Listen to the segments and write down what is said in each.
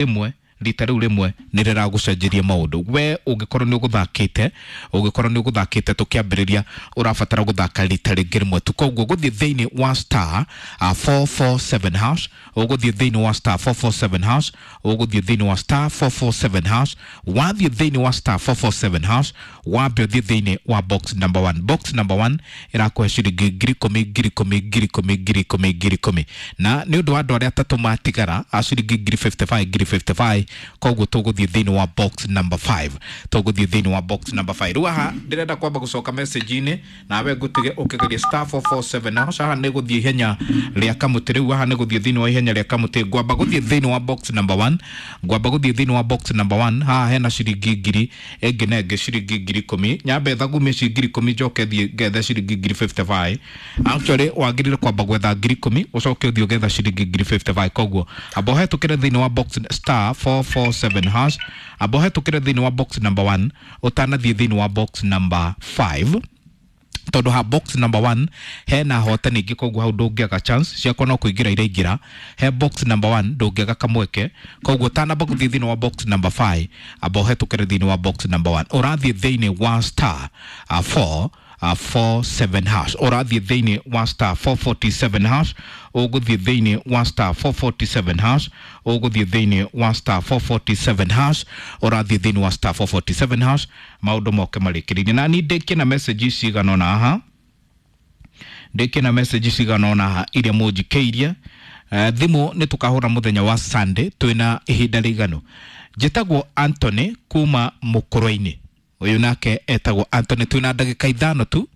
Rĩmwe rita rĩu rĩmwe nĩ rĩragũcenjeria maũndũ. We ũngĩkorwo nĩ ũgũthakĩte, ũngĩkorwo nĩ ũgũthakĩte tũkĩambĩrĩria, ũrabatara gũthaka rita rĩngĩ rĩmwe tu. Koguo gũthiĩ thĩinĩ wa star 447 hash, ũgũthiĩ thĩinĩ wa star 447 hash, ũgũthiĩ thĩinĩ wa star 447 hash. Wathiĩ thĩinĩ wa star 447 hash, wambe ũthiĩ thĩinĩ wa box number 1. Box number 1 ĩrakũhe ciringi 10,000, 10,000, 10,000, 10,000, 10,000, na nĩ ũndũ wa andũ arĩa atatũ matigara a ciringi 55,000, 55,000. Koguo tũgũthiĩ thĩinĩ wa box number 5, tũgũthiĩ thĩinĩ wa box number 5. Rĩu haha ndĩrenda kwamba gũcoka message-inĩ, nawe ngũtige ũkĩgeria star 447 hash. Haha nĩ gũthiĩ ihenya rĩa kamũtĩ. Rĩu haha nĩ gũthiĩ thĩinĩ wa ihenya rĩa kamũtĩ. Ngwamba gũthiĩ thĩinĩ wa box number 1, ngwamba gũthiĩ thĩinĩ wa box number 1. Haha hena ciringi ngiri ĩngĩ na ĩngĩ, ciringi 10,000. Nyambe thagumie ci 10,000, njoke thiĩ ngethe ciringi 55,000. Actually wagĩrĩire kwamba gwetha 10,000, ũcoke ũthiĩ ũgetha ciringi 55,000. Koguo amba ũhetũkĩre thĩinĩ wa box star 447 hash, amba ũhetũkĩre thĩinĩ wa box number 1 ũtanathiĩ thĩinĩ wa box number 5, tondũ ha box number 1 hena hotani ingĩ. Koguo hau ndũngĩaga chance ciakwa no kũingĩra iraingĩra. He box number 1 ndũngĩaga kamweke. Koguo ũtanamba gũthiĩ thĩinĩ wa box number 5, amba ũhetũkĩre thĩinĩ wa box number 1. Ũrathiĩ thĩinĩ wa star 4 47 hash, ũrathiĩ thĩinĩ wa star 447 hash, ũgũthiĩ thĩinĩ wa star 447 hash, ũgũthiĩ thĩinĩ wa star 447 hash, ũrathiĩ thĩinĩ wa star 447 hash, maũndũ moke marĩkĩrĩirie. Na ni ndĩkie na message cigana ũna haha, ndĩkie na message cigana ũna haha iria mũnjikĩirie. Thimũ nĩ tũkahũra mũthenya wa Sunday twĩna ihinda rĩiganu. Njĩtagwo Anthony kuma Mũkũrwe-inĩ. Ũyũ nake etagwo Anthony. Twĩna ndagĩka 5 tu,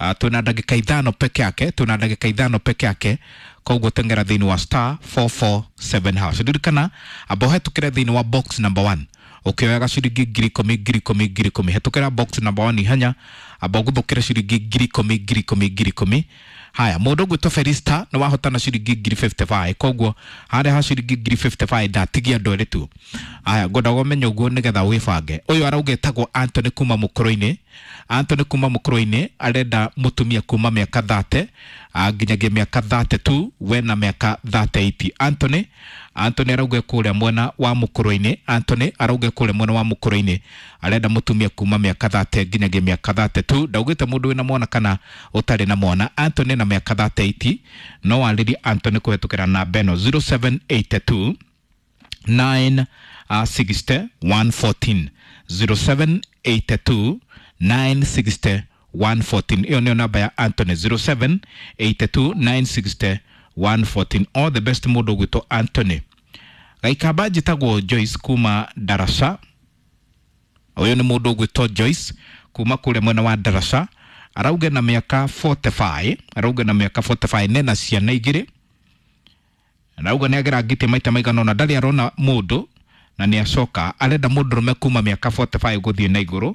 twĩna ndagĩka 5 peke yake, twĩna ndagĩka 5 peke yake. Koguo tengera thĩinĩ wa star 447 hash. Ririkana, amba ũhetũkĩre thĩinĩ wa box number 1 ũkĩoyaga ciringi 10,000, 10,000, 10,000. Hetũkĩra box number 1 ihenya, amba ũguthũkĩre ciringi 10,000, 10,000, 10,000. Haya, mũndũ ũgwĩtwo Felista nĩ wahotana ciringi 55,000. Koguo harĩa ha ciringi 55,000 ndatigia andũ erĩ tu. Haya, ngwendaga ũmenye ũguo nĩgetha wĩbange. Ũyũ arauga etagwo Anthony kuma Mũkũrũ-inĩ. Anthony kuma Mũkũrũ-inĩ arenda mũtumia kuma mĩaka 30 nginyagia mĩaka 32, we na mĩaka 38. Anthony, Anthony arauga kũrĩa mwena wa Mũkũrũ-inĩ. Anthony arauga kũrĩa mwena wa Mũkũrũ-inĩ arenda mũtumia kuma mĩaka 30 nginyagia mĩaka 32. Ndaugĩte mũndũ wĩna mwana kana ũtarĩ na mwana. Anthony na mĩaka 38, no warĩrie Anthony kũhetũkĩra namba ĩno, 0782 9 60 114, 0782 960 114. Ĩyo nĩyo namba ya Anthony, 0782 960 114. All the best, mũndũ ũgwĩtwo Anthony. Gaikamba, njĩtagwo Joyce kuma Darasha. Ũyũ nĩ mũndũ ũgwĩtwo Joyce kuma kũrĩa mwena wa Darasha. Arauga na mĩaka 45, arauga na mĩaka 45, nena ciana igĩrĩ. Arauga nĩ agerangĩtie maita maigana ũna, ndarĩ arona mũndũ na nĩ acoka. Arenda mũndũrũme kuma mĩaka 45 gũthiĩ na igũrũ,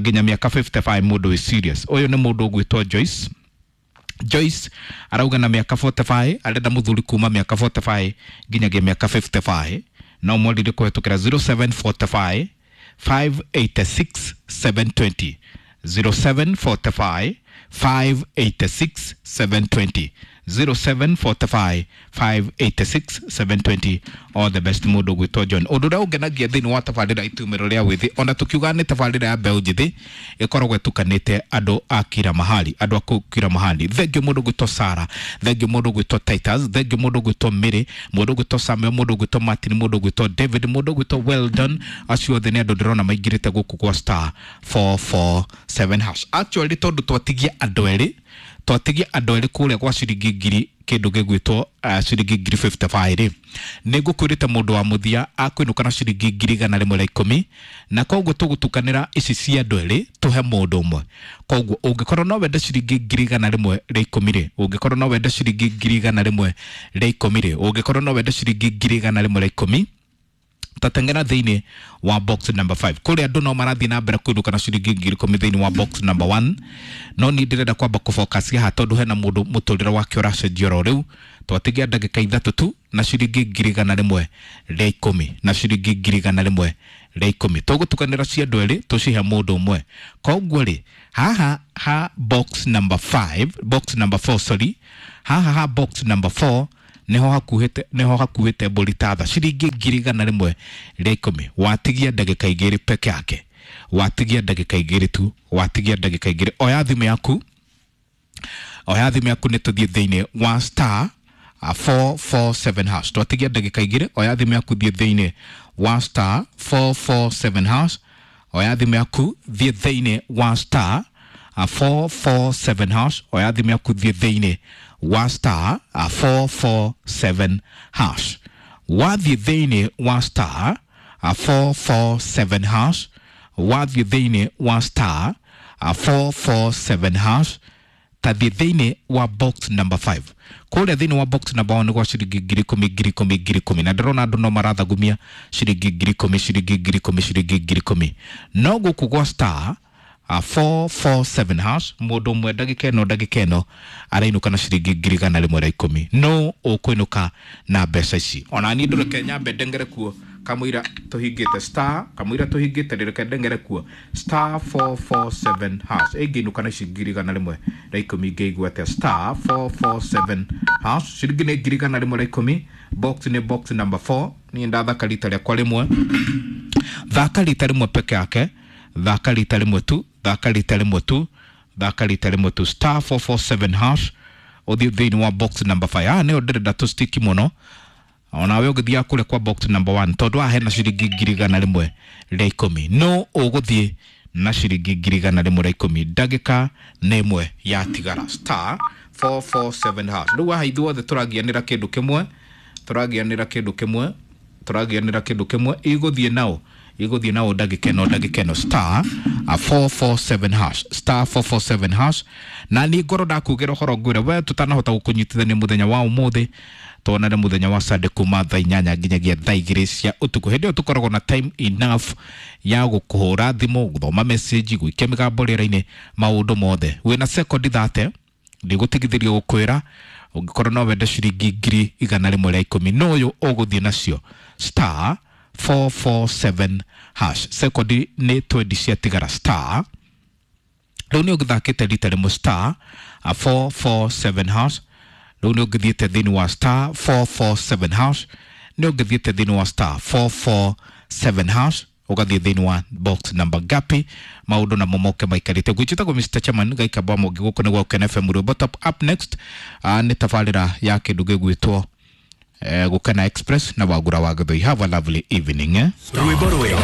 nginya mĩaka 55, mũndũ wĩ serious. Ũyũ nĩ mũndũ ũgwĩtwo Joyce. Joyce arauga na mĩaka 45 arenda mũthuri kuma mĩaka 45 nginyagia mĩaka 55. No mwarire kũhetũkĩra 0745 586 720, 0745 586 720, 0745 586 720. All the best, mũndũ ũgwĩtwo John. Ũndũ ũrĩa ũngenagia thĩinĩ wa tabarĩra Itumĩro rĩa Wĩthĩ, ona tũkiuga nĩ tabarĩra ya mbeũ njĩthĩ, ĩkoragwo ĩtukanĩte andũ a kila mahali, andũ a kũu kila mahali. Thengiũ mũndũ ũgwĩtwo Sara, thengiũ mũndũ ũgwĩtwo Titus, thengiũ mũndũ ũgwĩtwo Mary, mũndũ ũgwĩtwo Samuel, mũndũ ũgwĩtwo Martin, mũndũ ũgwĩtwo David, mũndũ ũgwĩtwo Weldon. Acio othe nĩ andũ ndĩrona maingĩrĩte gũkũ gwa star 447 hash. Actually, tondũ twatigia andũ erĩ, twatigia andũ erĩ kũrĩa gwa ciringi ngiri kĩndũ gĩgwĩtwo ciringi 55,000 rĩ, nĩ ngũkwĩrĩte mũndũ wa mũthia akwĩnũka na ciringi 110,000, na koguo tũgũtukanĩra ici cia andũ erĩ tũhe mũndũ ũmwe. Koguo ũngĩkorwo no wende ciringi 110,000 rĩ, ũngĩkorwo no wende ciringi 110,000 rĩ, ũngĩkorwo no wende ciringi 110,000, tatengera thĩinĩ wa box number 5. Kũrĩa andũ no marathiĩ na mbere kũinũka na ciringi 10,000 thĩinĩ wa box number 1, no niĩ ndĩrenda kwamba kũfocus haha tondũ hena mũndũ mũtũrĩre wake ũracenjia oro rĩu. Twatigia ndagĩka 3 tu na ciringi 110,000, na ciringi 110,000 tũgũtukanĩra cia andũ erĩ tũcihe mũndũ ũmwe. Koguo rĩ, haha ha box number 5, box number 4, sorry, haha ha box number 4. Niho hakuhĩte mbũri ta tha ciringi 110,000. Watigia ndagĩka 2 peke yake, watigia ndagĩka 2 tu, watigia ndagĩka 2. Oya thimũ yaku, oya thimũ yaku, nĩ tũthiĩ thĩinĩ wa star 447 hash. Twatigia ndagĩka 2. Oya thimũ yaku, thiĩ thĩinĩ wa star 447 hash. Oya thimũ yaku, thiĩ thĩinĩ wa star 447 hash. Oya thimũ yaku, thiĩ thĩinĩ wa star 447 hash. Wathiĩ thĩinĩ wa star 447 hash, wathiĩ thĩinĩ wa star 447 hash, tathiĩ thĩinĩ wa box number 5. Kũrĩa thĩinĩ wa box number 1 nĩ gwa ciringi 10,000, 10,000, 10,000, na ndĩrona andũ no marathagumia ciringi 10,000, ciringi 10,000, ciringi 10,000. No gũkũ gwa star 447 hash, mũndũ ũmwe ndagĩka ĩno arainũka na ciringi 110,000. No ũkũinũka na mbeca ici? Ona niĩ ndũreke nyambe ndengere kuo kamũira tũhingĩte star, kamũira tũhingĩte, reke ndengere kuo star 447 hash. Ĩngĩinũka na ici 110,000, ngĩigua atĩa? Star 447 hash, ciringi nĩ 110,000. Box nĩ box number 4. Niĩ ndathaka rita rĩakwa rĩmwe. Thaka rita rĩmwe peke yake, thaka rita rĩmwe tu, thaka rita rĩmwe tu, thaka rita rĩmwe tu, star 447 hash, ũthiĩ thĩinĩ wa box number 5. Ah, nĩyo ndĩrenda tũstiki mũno. Onawe ũgĩthiaga kũrĩa kwa box number 1, tondũ haha hena ciringi 110,000. No ũgũthiĩ na ciringi 110,000? Ndagĩka nĩ 1 yatigara. Star 447 hash. Rĩu haha ithuothe tũragianĩra kĩndũ kĩmwe, tũragianĩra kĩndũ kĩmwe, tũragianĩra kĩndũ kĩmwe. Igũthiĩ nao, igũthiĩ nao ndagĩka ĩno, ndagĩka ĩno. Star 447 hash, star 447 hash. Na niĩ ngorwo ndakugĩra ũhoro, ngwĩre we tũtanahota gũkũnyitithania mũthenya wa ũmũthĩ, tuonane mũthenya wa Sunday kuma thaa 8 nginyagia thaa 2 cia ũtukũ. Hĩndĩ ĩyo tũkoragwo na time enough ya gũkũhũra thimũ, gũthoma message, gũikia mĩgambo rĩera-inĩ, maũndũ mothe. Wĩna sekondi 30, ndigũtigithĩrio gũkwĩra, ũngĩkorwo no wende ciringi 110,000, no ũyũ ũgũthiĩ nacio? Star 447 hash. Sekondi nĩ 20 ciatigara. Star, rĩu nĩ ũgĩthakĩte rita rĩmwe star 447 hash. Rĩu nĩ ũngĩthiĩte thĩinĩ wa star 447 hash, nĩ ũngĩthiĩte thĩinĩ wa star 447 hash, ũgathiĩ thĩinĩ wa box number gapi, maũndũ namo moke maikarĩte. Gwĩtagwo Mr Chairman Gaikamba Mũngĩ, gũkũ nĩ gwa Gũkena FM Rwĩmbo Top. Up next nĩ tabarĩra ya kĩndũ gĩgwĩtwo Gũkena Express na Wagura wa Gĩthũi. Have a lovely evening, eh? Rwĩmbo rwega.